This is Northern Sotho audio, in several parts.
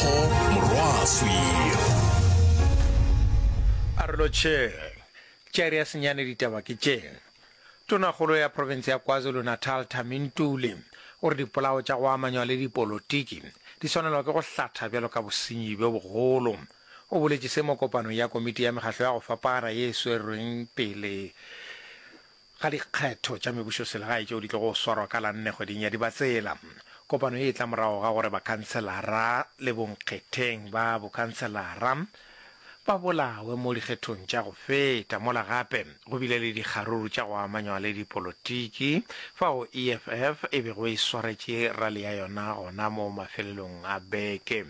Tebogo Morwaswi. A re lotšheng. Tša iri ya senyane ditaba ke tše. Tonakgolo ya profense ya KwaZulu-Natal Thami Ntuli o re dipolao tša go amanywa le dipolotiki di swanelwa ke go hlatha bjalo ka bosenyi bjo bogolo. O boletše se mo kopanong ya komiti ya mekgahlo ya go fapana ye e swerweng pele ga dikgetho tša mebušoselegae tšeo di tlogo swarwa ka la nne kgweding ya Dibatsela. Kopano ye e tla morago ga gore bakhanselara le bonkgetheng ba bokhanselara ba bolawe mo dikgethong tša go feta, mola gape go bile le dikgaruru tša go amanywa le dipolotiki fao EFF e bego e swaretše rali ya yona gona mo mafelelong a beke.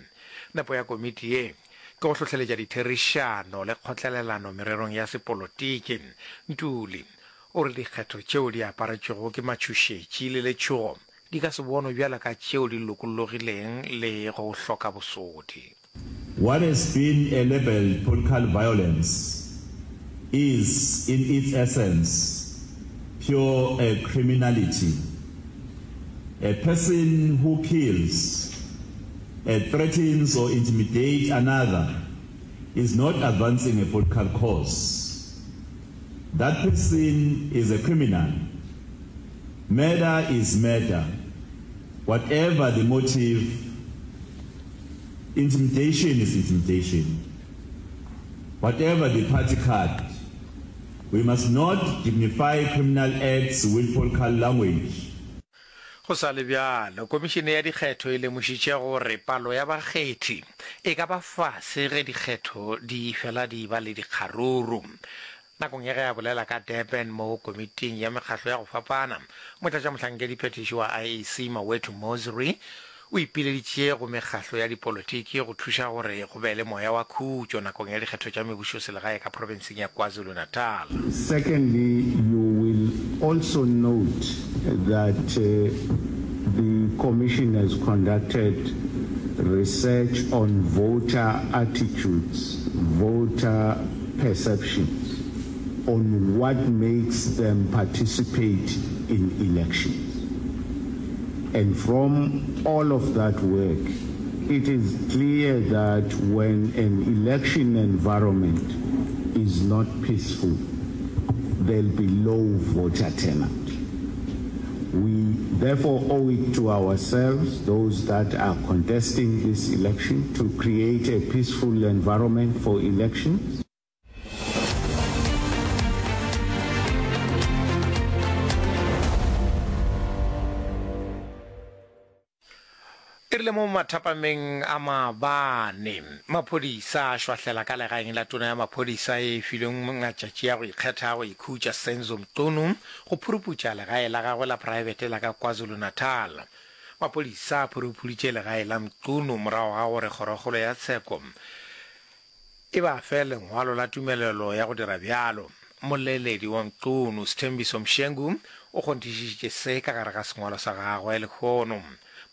Nepo ya komiti ye ke go hlohleletša ditherišano le kgotlelelano mererong ya sepolotiki. Ntuli o re dikgetho tšeo di aparetšwego ke matšhošetši le letšhogo di ka se bonwe bjalo ka tšeo di lokollogileng le go hloka bosodi. What has been a labelled political violence is in its essence pure criminality. A person who kills, threatens or intimidates another is not advancing a political cause. That person is a criminal. Murder is murder, whatever the motive, intimidation is intimidation, whatever the party card. We must not dignify criminal acts with political language. Go sa le bjalo, Komišene ya Dikgetho e lemošitše gore palo ya bakgethi e ka ba fase ge dikgetho di fela di ba le dikgaruru. Nakong ya ge a bolela ka Durban mo komiting ya mekgahlo ya go fapana, motlatšamohlankediphethiši wa IEC Mawethu Mosery o ipileditše go mekgahlo ya dipolotiki go thuša gore go be le moya wa khutšo nakong ya dikgetho tša mebušoselegae ka profenseng ya KwaZulu-Natal. Secondly, you will also note that the Commission has conducted research on voter attitudes, voter perceptions on what makes them participate in elections. And from all of that work, it is clear that when an election environment is not peaceful, there'll be low voter turnout. We therefore owe it to ourselves, those that are contesting this election, to create a peaceful environment for elections. E rile mo mathapameng a maabane, maphodisa a šwahlela ka legaeng la tona ya maphodisa e filweng matšatši a go ikgetha a go ikhutša, Senzo Mchunu, go phuruputša legae la gagwe la praebete la ka KwaZulu-Natal. Maphodisa a phurupuditše legae la Mchunu morago ga gore kgorokgolo ya tsheko E ba fe lengwalo la tumelelo ya go dira bjalo. Mmoleledi wa Mchunu, Sthembiso Mshengu, o kgonthišišitše se ka gare ga sengwalo sa gagwe lehono.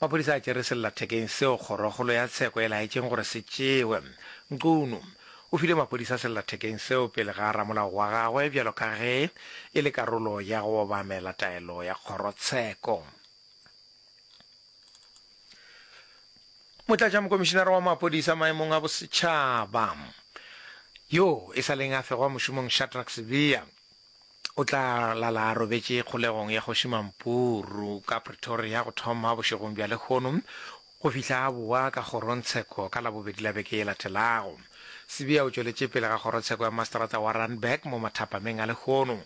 Maphodisa a tšere sellathekeng seo kgorokgolo ya tsheko e laetšeng gore se tšewe. Mchunu o file maphodisa sellathekeng seo pele ga ramolao wa gagwe bjalo ka ge e le karolo ya go obamela taelo ya kgorotsheko. Motlatšamokomišinara wa maphodisa maemong a bosetšhaba yo e sa leng a fegwa mošomong Shadrack Sibiya o tla lala a robetše kgolegong ya Kgoši Mampuru ka Pretoria go thoma bošegong bja lehono go fihla a boa ka kgorongtsheko ka Labobedi la beke ye latelago. Sibiya o tšweletše pele ga kgorotsheko ya maseterata wa Randburg mo mathapameng a lehono.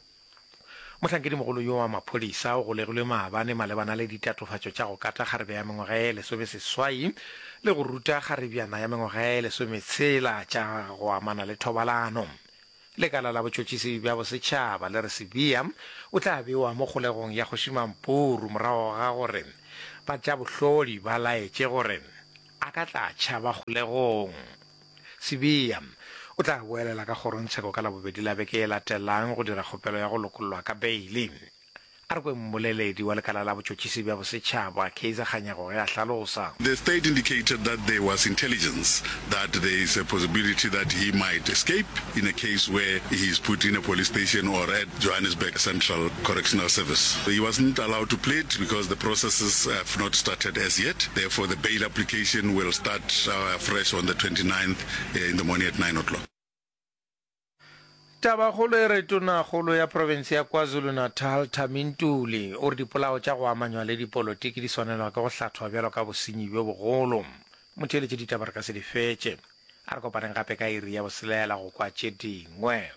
Mohlankedimogolo yo wa maphodisa o golegilwe maabane malebana le ditatofatšo tša go kata kgarebe ya mengwaga ye lesomeseswai le go ruta kgarebjana ya mengwaga ye lesometshela tša go amana le thobalano. Lekala la botšhotšhisi bja bosetšhaba le re Sibiya o tla bewa mo kgolegong ya Kgoši Mampuru morago ga gore ba tša bohlodi ba laetše gore a ka tla tšhaba kgolegong. Sibiya o tla boelela ka kgorongtsheko ka Labobedi la beke e latelang go dira kgopelo ya go lokollwa ka beili. A re kwe mmoleledi wa lekala la botšhotšhisi bja bosetšhaba, Kaizer Kganyago ge a hlalosa. The state indicated that there was intelligence that there is a possibility that he might escape in a case where he is put in a police station or at Johannesburg Central Correctional Service. He wasn't allowed to plead because the processes have not started as yet. Therefore, the bail application will start afresh on the 29th in the morning at 9 o'clock. Tabakgolo e re Tonakgolo ya profense ya KwaZulu-Natal, Thami Ntuli, o re dipolao tša go amanywa le dipolotiki di swanelwa ke go hlathwa bjalo ka bosenyi bjo bogolo. Motheeletši ditaba re ka se di fetše. A re kopaneng gape ka iri ya boselela go kwa tše dingwe.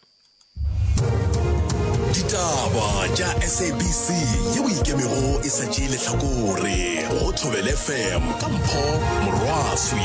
Ditaba tša SABC yeo e ikemego e sa tšee lehlakore go Thobela FM ka Mpho Morwaswi.